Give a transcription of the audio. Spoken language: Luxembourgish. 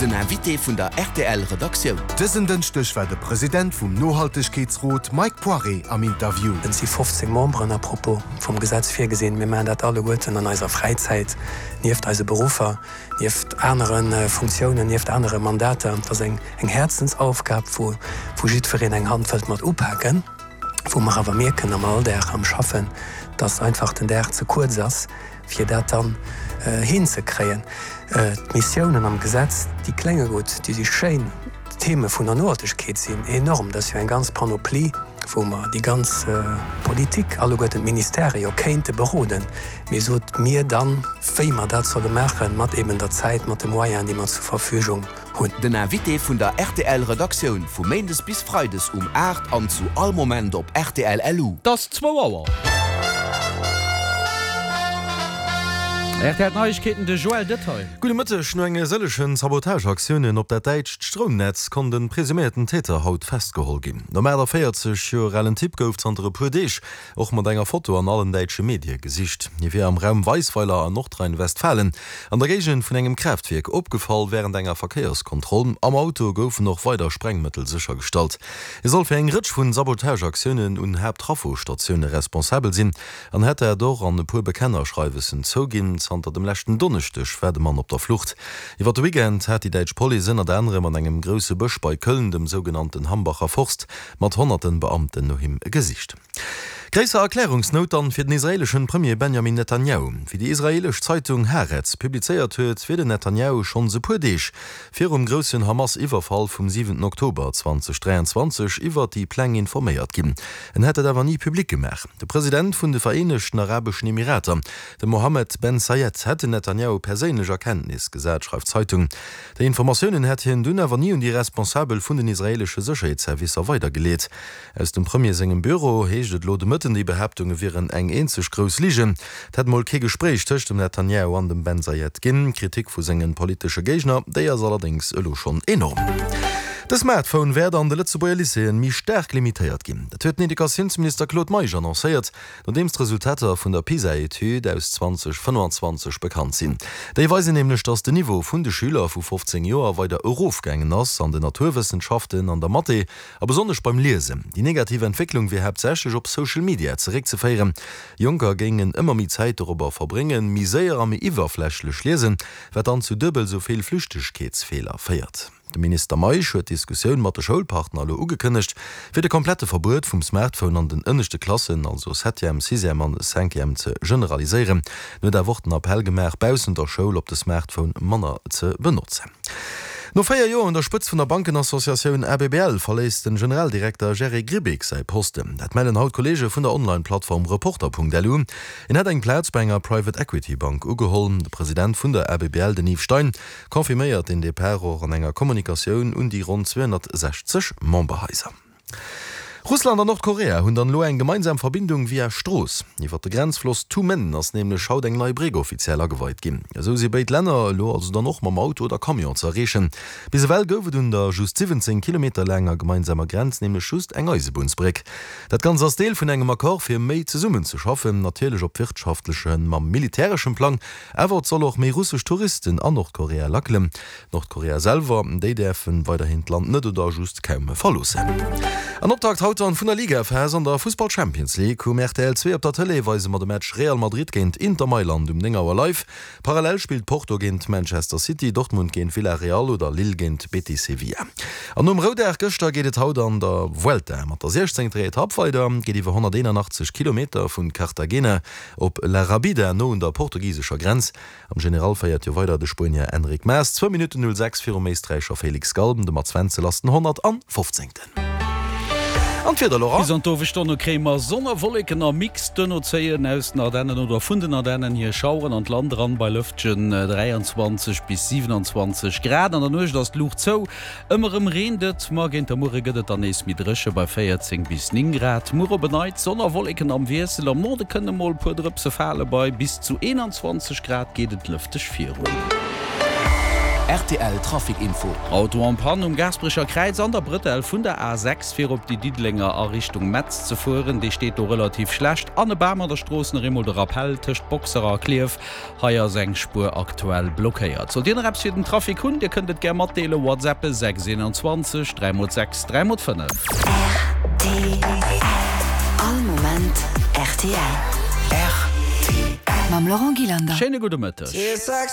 Den Invité vun der rtl Redaktioun. Dësen Dënschdeg war de President vum Nohaltegkeetsrot Mike Poiré am Interview. Et si 15 Memberen à propos vum Gesetz virgesinn. Mir maachen dat alleguerten an eiser Fräizäit, nieft eise Beruffer, nieft anere Funktiounen, nieft anere Mandater. Et ass eng Häerzensaufgab, wou jiddwereen eng Hand wëllt mat upaken, wou mer awer mierken am Alldag, am Schaffen, dass einfach den Dag ze kuerz ass, fir dat dann hinzekréien. D'Missiounen am Gesetz, déi klénge gutt, déi si schéin, d'Theme vun der Nohaltegkeet sinn enorm, dat ass jo eng ganz Panoplie, wou mer déi ganz Politik, alleguerten d'Ministèrë jo kéinte beroden, mee sot mir dann, wéi mer dat solle maachen, mat eben der Zäit, mat de Moyenen, déi mer zur Verfügung hunn. Den Invité vun der rtl Redaktioun vu Méindes bis Freides um 8 an zu all Moment op rtl LU. 't ass zwou Auer. Rtl Neiegkeeten, de Joël Detail. Gudde Mëtteg. No enge sëllechen Sabotageaktiounen op dat däitscht Stroumnetz konnt e presuméierten Täter haut festgeholl ginn. Nom 48 Joer alen Typ gouf zanter e puer Deeg och mat enger Foto an allen däitsche Medie gesicht. Hie wier am Raum Weisweiler an Nordrhein-Westfalen an der Géigend vun engem Kraaftwierk opgefall wärend enger Verkéierskontroll. Am Auto goufen och weider Sprengmëttel séchergestallt. Hie soll fir eng Rëtsch vun Sabotageaktiounen un Haapttraffostatioune responsabel sinn an hätt dat och an e puer Bekennerschreiwessen zouginn. Zanter dem leschten Donneschdeg war de Mann op der Flucht. Iwwer de Weekend hat déi däitsch Police ënnert anerem an engem grousse Bësch bei Köln, dem sougenannten Hambacher Forst, mat honnerten Beamten no him gesicht. Gréisser Erklärungsnout dann fir den israeleschen Premier Benjamin Netanjahu. Wéi déi israelesch Zeitung Haaretz publizéiert huet, wier den Netanjahu schonns e puer Deeg virum groussen Hamas-Iwwerfall vum 7 Oktober 2023 iwwert déi Pläng informéiert ginn. En hätt dat awer ni public gemaach. De President vun de Vereenegten Arabeschen Emirater, de Mohammed Ben Zayed, hätt den Netanjahu perséinlech a Kenntnis gesat, schreift d'Zeitung. Déi Informatiounen hätt hien dunn awer ni un déi Responsabel vun den israeelesche Sécherheetsservicer weidergeleet. Aus dem Premier sengem Büro heescht et elo de Mëtten, déi Behaaptunge wieren eng eenzeg grouss Ligen. Et hätt mol kee Gespréich tëscht dem Netanjahu an dem Ben Zayed ginn. D'Kritik vu senge politesche Géigner, déi ass allerdéngs elo schonn enorm. De Smartphone wäert an de Lëtzebuerger Lycéeën méi staark limitéiert ginn. Dat huet den Educatiounsminister Claude Meisch annoncéiert. Nodeems d'Resultater vun der PISA-Etüd aus 2025 bekannt sinn. Déi weisen nämlech, datt den Niveau vun de Schüler vu 15 Joer weider erofgaangen ass an den Naturwëssenschaften, an der Mathé a besonnesch beim Liesen. Déi negativ Entwécklung wier haaptsächlech op Social Media zeréckzeféieren. Jonker géingen ëmmer méi Zäit dorobber verbréngen, méi séier a méi iwwerflächlech liesen, wat dann zu duebel esou vill Flüchtegkeetsfeeler féiert. De Minister Meisch huet d'Diskussioun mat de Schoulpartner elo ugekënnegt, fir de komplette Verbuet vum Smartphone an den ënneschte Klassen, also Septième, Sixième an Cinquième, ze generaliséieren. En huet awer och den Appell gemaach, baussent der Schoul op de Smartphone manner ze benotzen. No 4 Joer un der Spëtzt vun der Bankenassociatioun ABBL verléisst den Generaldirekter Jerry Grbic säi Posten. Dat mellen haut Kolleege vun der Online-Plattform Reporter.lu. En hätt eng Plaz bei enger Private Equity Bank ugeholl. De President vun der ABBL, den Yves Stein, Confirméiert deen Depart och an enger Kommunikatioun un déi ronn 260 Memberhaiser. Russland an Nordkorea hunn dann elo eng gemeinsam Verbindung via Strooss. Iwwer de Grenzfloss Tumen ass nämlech haut eng nei Bréck offiziell ageweit ginn. Esou si béid Länner elo also dann och mam Auto oder Camion ze erreechen. Bis ewell gouf et un der just 17 Kilometer laanger gemeinsamer Grenz nämlech just eng Eisebunnsbréck. Dat Ganzt ass Deel vun engem Accord fir méi zesummen ze schaffen, natierlech op wirtschaftlechem a militäreschem Plang. Awer et soll och méi russesch Touristen an Nordkorea lackelen. Nordkorea selwer, déi däerfen weiderhin d'Land net oder just kaum verloossen. An Optakt haut dann vun der Ligaphas an der Fussball Champions League. Um rtl 2 op der Tëlee weise mer de Match Real Madrid géint Inter Mailand um 9 Auer live. Parallel spillt Porto géint Manchester City, Dortmund géint Villarreal oder Lille géint Betis Sevilla. An nom Roudag gëschter geet et haut an der Vuelta mat der 16. Etapp weider. Geet iwwer 181 Kilometer vun Cartagena Op La Rabida, no un der portugisescher Grenz. Am General féiert jo weider de Spuenier Enric Mas, zwou Minutten 06 virum Éisträicher Felix Gall. De Mats Wenzel ass den 115. An d'Wieder, Laurent? Bis an d'Owesstonne kréie mer Sonn a Wolleken am Mix. Duerno zéien aus den Ardennen oder vun den Ardennen hier Schaueren an d'Land eran, bei lëftegen 23 bis 27 Grad. An der Nuecht ass d'Luucht zou. Ëmmer rëm reent et, ma géint der Muere gëtt et dann nees méi dréche bei 14 bis 9 Grad. Muer op en Neits Sonn a Wolleken am Wiessel, am Norde kënne mol e puer Drëpse fale, bei bis zu 21 Grad geet et lëfteg virun. Rtl Trafic Info. Auto en panne um Gaasperecher Kräiz an der Brëtell vun der A6 fir op déi Diddelenger a Richtung Metz ze fueren. Dee steet do relativ schlecht an e Bam an der Strooss. Nach eemol de Rappell, Tëscht Boxer a Klierf, hei ass eng Spuer aktuell blockéiert. Sollt Dir nach eppes fir den Trafic hunn, Dir kënnt et gär matdeelen, WhatsAppe 6 21 3 x 6 3 x 5. Rtl. All Moment rtl. Rtl. Mam Laurent Gillander. Schéine gudde Mëtteg.